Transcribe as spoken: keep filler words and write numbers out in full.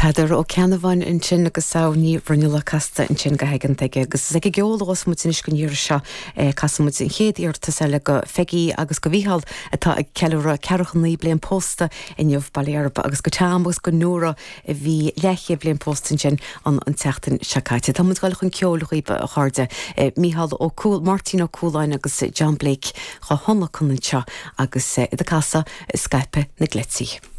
Peadar Ó Ceannabháin ansin agus Samhain Ní Bhruinnealla casta ansin go haigeanta aige agus is ag an gceol a bheas muid anois don iarraidh seo casfaidh muid an chéad iarratas eile go Peggy agus go Mhícheál atá ag ceiliúradh ceathracha naoi bliain pósta inniu Baile Erba agus go Tom agus go Nóra a bhí leathchéad bliain pósta ansin an an tseachtain seo caite. Tá muid ag gabháil chun ceoil dhaoibh a chairde Mícheál Ó Cúl Máirtín Ó Cúláin agus John Blake á thionlacan anseo agus iad ag casadh Scaipeadh na gCleití.